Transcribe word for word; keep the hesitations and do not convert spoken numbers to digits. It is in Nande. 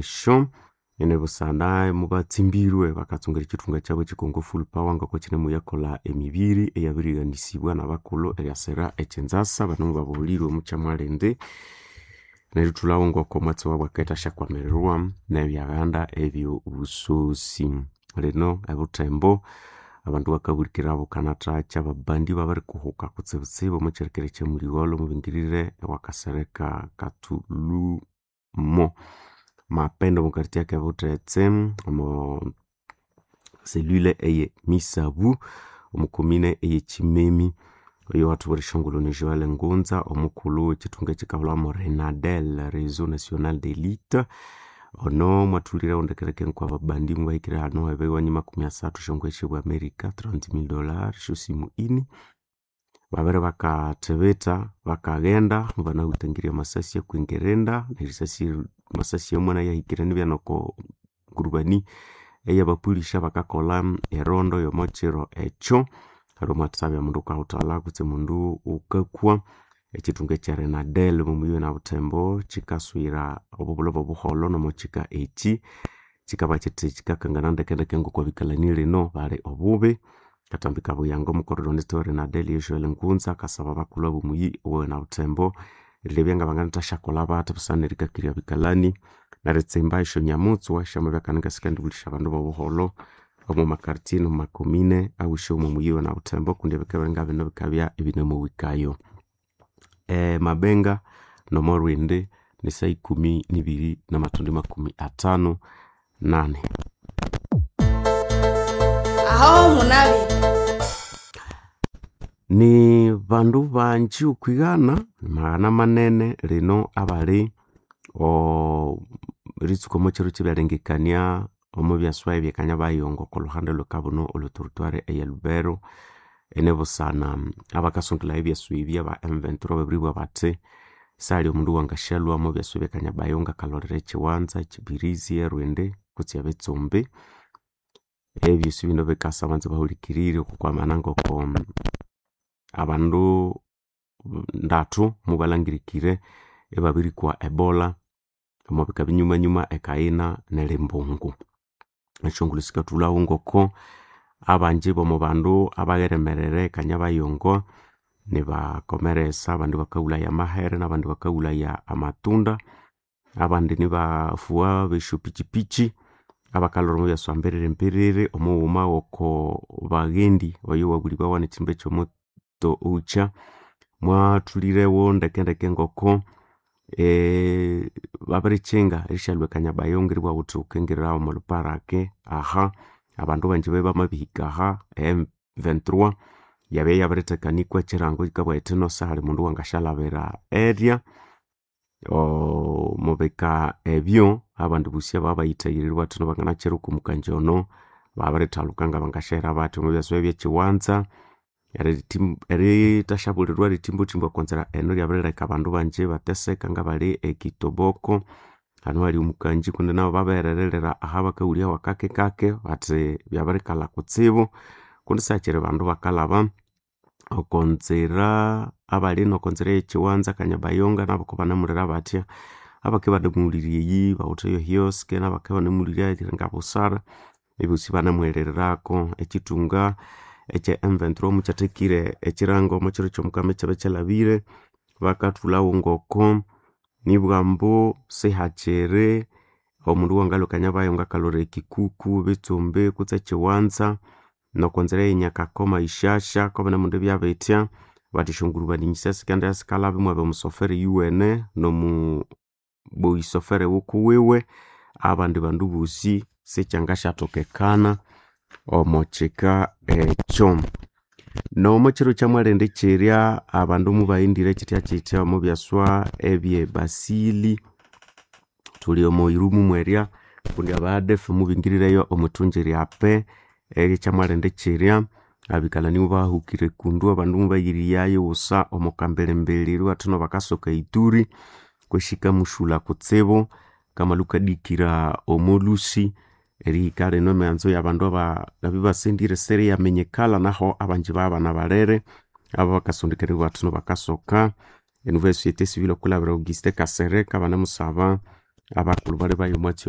Esyo ene busana mubatsimbirwe bakatsungera ekithunga kyabo ekikongo full power ngoko kinemuyakolha emibiri eyabirighanisibwa nabakulhu eryasira ekyinzasa bano mubabuhulirwe omukyamwalindi nerithulhawo ngoko omwatsi wabu akethasyakwamirwa nebyaghanda ebyobusosi. Lino ebuthembo abandu bakabulikira bukanathakya ababandi babirikuhuka kutsibutsibu omwakyilekere ekyamuligholho mubingirire ewakasereka kathulumo mapendo omo quartier akebuthetse omo cellule eye misabu omo commune eye kyimemi oyo wathubwera esyongulhu ni Joel Ngunza omukulhu wekithunga ekikahulhamu RENADEL Reseau National d'Elite ono mwathulhirewo ndekendeke ngoko ababandi mubahikire hano ebiwanyi makumi asathu esyongoye syobwa America trente mille dollars esyosimu ini babere bakathibitha bakaghenda mubanahutangirye amasasi akwingirinda nerisasi amasasi amwe nayahikire nibya noko ngurubani eyabapolisi abakakolha erondo yomokyiro ekyo hali omwathabya mundu wukahuthalha kutse mundu wukakwa ekyithunga ekya RENADEL omomuyina webuthembo kyikaswira obubulho bobuholho nomokyika ekyi kyikabya kyithi kyikakangana ndekendeke ngoko abikalani lino bali obubi kathambi kabuyanga omucoordinator wa RENADEL ye Joel Ngunza akasaba abakulhu abomuyi owenabuthembo erilebya ngabanganathasyakakolha bathi busana nerikakirya abikalani neritsimba esyonyamutswa esyamabya ngasikandibulisya abandu bobuholho omo maquartier nomu macommune awisi omo muyi wenabuthembo kundi ebika ngabino bikabya ibinamuhikayo. Emabenga nomolhwindi ni saha ikumi nibiri namathundu makumi athanu nani. Aho munabire Ni bandu banji okwigana maghana manene lino abali eritsuka omwakyiro kyebyalengekania omubyaswa ebyekanyabayongo okolhuhandi olhwekabunu olwe territoire eye Lubero inibusana abakasondolhaya ebyaswa ebi aba M twenty-three babiribugha bathi sihali omundu owangasyalhwa omwabyaswa ebyekanyabayongo akalholera ekyiwanza, ekyibirizi, erwindi kutse ebitsumbi. Ebyosi bino bikasa abanza bahulikirire okwakwamana ngoko abandu ndathu mubalhangirikire ibabirikwa ebola omwabika binyumanyuma ekayina nerimbungu. Esyongulhu sikathulhawo ngoko abanji bomubandu abagheremerere ekanyabayongo nibakomeresa abandi bakaghulhaya amahere nabandi bakaghulhaya amatunda abandi nibafuwa besyapikyipikyi abakalhwira omwabyaswa mbiriri mbiriri omughuma woko baghendi oyo wabulibawa nekyihimba ekyomutto ocha mwathulhirewo ndekendeke ngoko babirikyinga erishalhwa ekanyabayongo eribugha ghuthi ghukingirira omolhuparake aha abandu banji babya bamabihika aha e M twenty-three yabya yabirithekanikwa ekyirango kyikabugha kyithi sihali mundu owangasyalhabira erya omubika ebyo abandu bosi ababayithayirire bathino banganakyira okwamukanji ono babirithaluka ngabangasyaghira bathi omwabyaswa ebyekyiwanza erithasyabulirwa erithimbathimba okwanzira eno lyabirileka abandu banji ibateseka ngabali ekitoboko hanu hali omukanji kundi nabo babihererera ahabakawulya wakakekake bathi byabirikalha kutsibu kundi sihakyiri bandu bakalhaba okonzira abali nokonzira eyekyiwanza kanyabayonga nabo kubanamulira bathya abakibya ibanamuwulirya eyi bawithe yohiosk nabakibya ibanamuwulirya eringa busara ebosi ibanamuherererako ekyithunga ekye M twenty-three mukyathekire ekyirango omwakyiro kyomukama ekyabya kyalhabire bakathulhawo ngoko nibwambu sihakyiri omundu owangalhwa ekanyabayongo akalhwira ekikuku, bitsumbi kutse ekyiwanza nokonzira eyenyakakoma ishasha kobinemundi byabithya bathi esyongurubani sikendiya sikalhaba imwabya omusofere oyuwene nomu boyisofere wukuwiwe abandi bandu bosi sikyangasyathokekana omokyika ekyo. Nomwakyiro kyamwalindi kyirya abandu mubaghendire kyithyakyithya omubyaswa ebye basili thuli omo irumu mwerya kundi aba A D F mubingirireyo omwithungi ryape eryekyamwalindi kyirya abikalani mubahukire kundu abandu mubayiriyayo wusa omokambilimbili eribugha bakasoka eituri kwesi ikamusulha kutsibu wukamalha wukadikira omolhusi erihika lino emiwanzo yabandu abangabya ibasendire siriyaminyikala naho abanji babana balere ababakasondekania bathi bakasoka enouvelle société civile okwilhabira Augustin Kasereka banamusaba Abakulhu bali bayo omwatsi oyo.